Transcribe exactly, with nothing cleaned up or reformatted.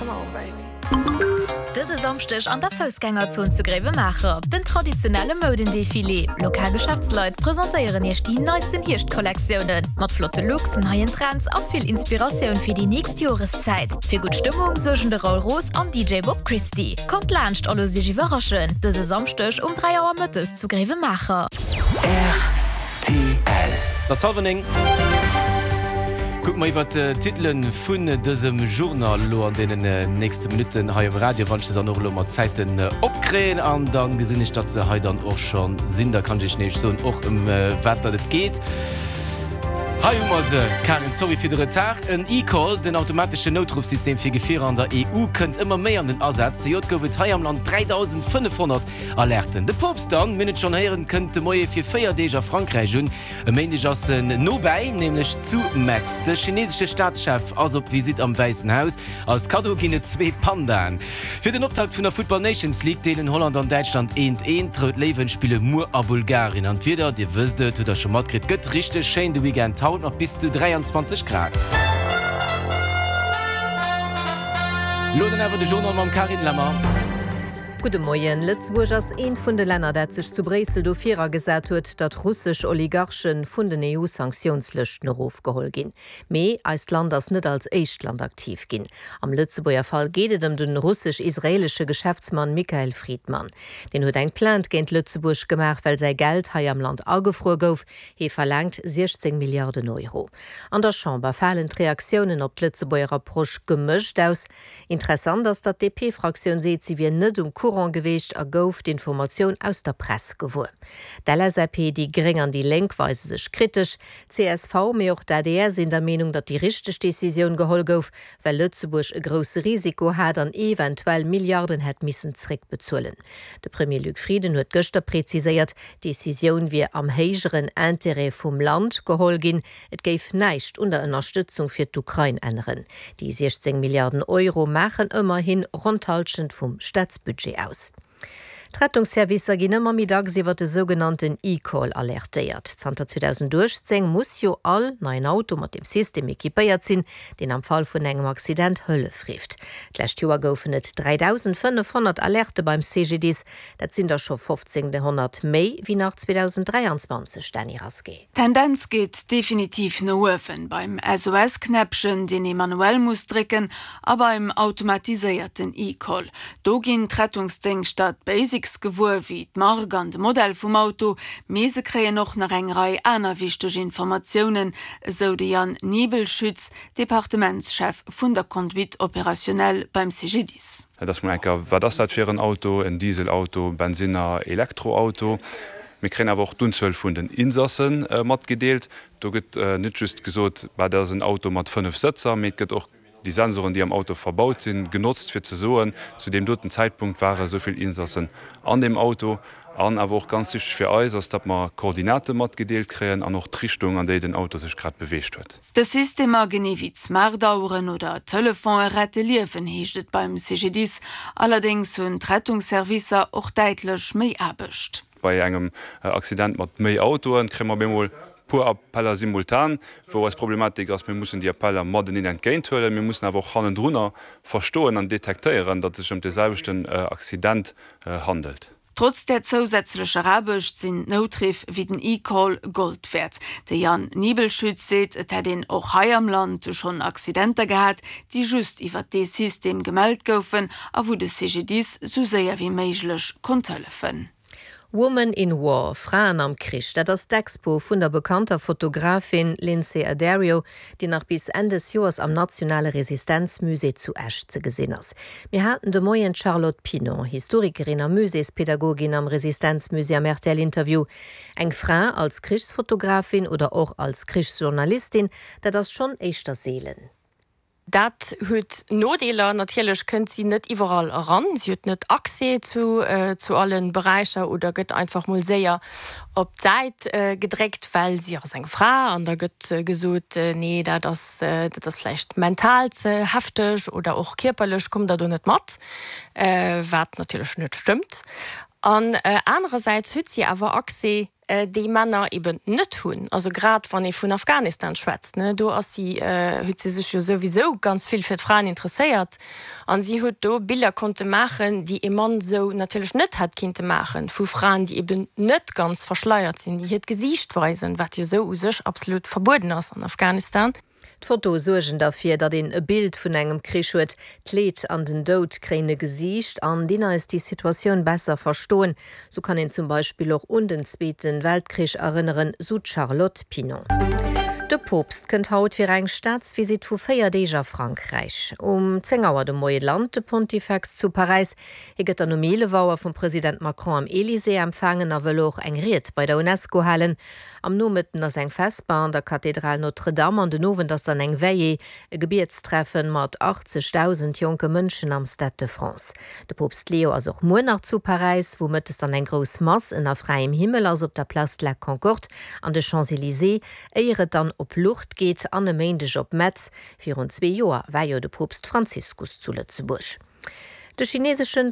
Come on, baby. Dëse Samschdeg an der Foussgängerzon zu Gréiwemaacher, den traditionelle Moudendefilé. Lokal Geschäftsleit presentéieren iech déi neisten Hierschtkollektiounen. Mat flotte Looks, neien Trends a vill Inspiratioun fir déi nächst Joreszäit. Fir gutt Stëmmung suergen de Raoul Roos an D J Bob Christie. Kommt laanscht a loosst iech iwwerraschen. Dëse Samschdeg um dräi Auer mëttes zu Gréiwemaacher. R T L. Et ass hallwer néng. Kucke mer iwwer d'Titele vun dësem Journal elo an deenen nächste Minutten hei um Radio, wann ech se dann och elo mat Zäiten opkréien an dann gesinn ech, datt se hei dann och schonn sinn. Da kann ech iech nämlech soen och ëm wat dat et geet. Hei hu mer se, Karin, sorry fir de Retard. En eCall, den automateschen Noutruffsystem fir Gefierer an der E U, kënnt ëmmer méi an den Asaz. Zejoert gouf et hei am Land dräidausendfënnefhonnert Alerten. De Poopst dann, mir hunn et schonn héieren, kënnt de Moie fir véier Deeg a Frankräich un. E Méindeg ass en nobäi, nämlech zu Metz. De chinesesche Staatschef ass op Visitt am Wäissen Haus. Als Kaddo ginn et zwee Pandaen. Fir den Optakt vun der Futtball Nations League deelen Holland an Däitschland eent eent. D'Rout Léiwen spille muer a Bulgarien. An d'Wieder, Dir wësst et, hutt der scho matkritt, gëtt richteg schéin de Weekend, haut mat bis zu dräianzwanzeg Grad. Lo dann awer de Journal mam Carine Lemmer. Gudde Moien. Lëtzebuerg ass eent vun de Länner, dat sech zu Bréissel dofir agesat huet, datt russesch Oligarche vun den E U-Sanktiounslëschten erofgeholl ginn. Mee eist Land ass net als éischt Land aktiv ginn. Am Lëtzebuerger Fall geet et ëm de russesch-israelesche Geschäftsmann Michael Fridman. Deen huet eng Plainte géint Lëtzebuerg gemaach, well säi Geld hei am Land agefruer gouf. Hie verlaangt siechzéng Milliarden Euro. An der Chamber falen d'Reaktiounen op d'Lëtzebuerger Approche gemëscht aus. Interessant ass, datt d'D P-Fraktioun seet, si wier net um Courant gewiescht a gouf d'Informatioun aus der Press gewuer. D'L S A P, déi Gréng an déi Lénk weise sech kritesch. C S V, mee och d'A D R sinn der Meenung, datt déi richteg Decisioun geholl gouf, well Lëtzebuerg e grousse Risiko hat an eventuell Milliarden hätt missen zréckbezuelen. De Premier Luc Frieden huet gëschter präziséiert, d'Decisioun wier am héijeren Interêt vum Land geholl ginn. Et géif näischt un der Ënnerstëtzung fir d'Ukrain änneren. Déi siechzéng Milliarden Euro maachen ëmmerhin ronn d'Hallschent vum Staatsbudget aus. D'Rettungsservicer ginn ëmmer méi dacks iwwer de sougenannten eCall alertéiert. Zanter zweedausenduechtzéng muss jo all neien Auto mat dem System equipéiert sinn, deen am Fall vun engem Accident Hëllef rifft. D'lescht Joer goufen et dräidausendfënnefhonnert Alerte beim C G D I S. Dat sinn der scho fofzénghonnert méi wéi nach zweedausenddräianzwanzeg, Dany Rasqué. Tendenz geet definitiv no uewen beim S O S-Knäppchen, deen ee manuell muss drécken, a beim automatiséierten eCall. Do ginn d'Rettungsdéngschter d'Basics gewuer wéi d'Mark an de Modell vum Auto, mee se kréien och nach eng Rei aner wichteg Informatiounen, esou de Jan Niebelschütz, Departementschef vun der Conduite opérationnelle beim C G D I S. Dat ass mol enker, wat ass dat fir en Auto, en Dieselauto, Bensinner, Elektroauto. Mir kréien awer och d'Unzuel vun den Insassen äh, matgedeelt. Do gëtt äh, net just gesot, dat ass en Auto mat fënnef Sëtzer, mee et gëtt och déi Sensoren, déi am Auto verbaut sinn, genotzt fir ze soen, zu deem doten Zäitpunkt ware souvill Insassen an deem Auto. An awer och ganz wichteg fir eis ass, datt mer Koordinate matgedeelt kréien an och d'Richtung, an déi den Auto sech grad beweegt huet. Dës Systemer genee wéi d'Smartaueren oder Telefone rette Liewen, heescht et beim C G D I S. Allerdéngs hunn d'Rettungsservicer och däitlech méi Aarbecht. Bei engem Accident mat méi Autoen kréie mer bemol puer Appeller simultan, wou eis Problematik ass, mir mussen déi Appeller mateneen entgéinthuelen, mir mussen awer och hannendrunner verstoen an detektéieren, datt et sech ëm de selwechten Accident handelt. Trotz der zousätzlecher Aarbecht sinn Noutriff wéi den eCall Gold wäert. De Jan Niebelschütz seet, et hätt een och hei am Land schonn Accidenter gehat, déi just iwwer dee System gemellt goufen a wou de C G D I S sou séier wéi méiglech konnt hëllefen. Woman in War, Fraen am Krich, dat ass d'Expo vun der bekannter Fotografin Lynsey Addario, déi nach bis Enn des Joers am Nationale Resistenzmusée zu Esch ze gesinn ass. Mir haten de Moien Charlotte Pinon, Historikerin a Muséespädagogin am Resistenzmusée am R T L-Interview. Eng Fra als Krichsfotografin oder och als Krichsjournalistin, dat ass schonn éischter seelen. Dat huet Nodeeler, natierlech kënnt si net iwwerall eran, si huet net Accès zu, äh, zu allen Beräicher oder gëtt einfach mol séier op d'Säit äh, gedréckt, well si ass eng Fra an da gëtt äh, gesot äh, nee, dat ass, äh, dat ass vläicht mental ze hefteg oder och kierperlech kommt der do net mat, äh, wat natierlech net stëmmt. An äh, anerersäits huet si awer Accès déi Männer eben net hunn. Also grad wann ee vun Afghanistan schwätzt, ne, do ass si, huet si sech jo souwisou ganz vill fir d'Fraen interesséiert an si huet do Biller konnte maachen, déi e Mann sou natierlech net hätt kinnte maachen, vu Fraen, déi eben net ganz verschleiert sinn, déi hiert Gesiicht weisen, wat jo sou u sech absolut verbueden ass an Afghanistan. D'Fotoe suergen derfir, datt een e Bild vun engem Krich huet. D'Leed an den Doud kréien e Gesiicht an dinn eis déi Situatioun besser verstoen. Sou kann een zum Beispill och un den Zweete Weltkrich erënneren, sou d'Charlotte Pinon. De Poopst kënnt haut fir eng Staatsvisitt vu véier Deeg a Frankräich. Um zéng Auer de Moie lant de Pontifex zu Paräis. Hie gëtt dann um eelef Auer vum President Macron am Elysée empfaangen a wëll och eng Ried bei der Unesco halen. Am Nomëtten ass eng Vesper an der Kathedral Notre-Dame an den Owend ass dann eng Veillée, e Gebietstreffen mat achtzegdausend jonke Mënschen am Stade de France. De Poopst Leo ass och muer nach zu Paräis, wou mëttes dann eng grouss Mass ënner fräiem Himmel ass op der Place de la Concorde an de Champs-Elysées, éier et dann op Lourdes geet an e Méindeg op Metz. Virun zwee Joer war jo de Poopst Franziskus zu Lëtzebuerg. De chineseschen.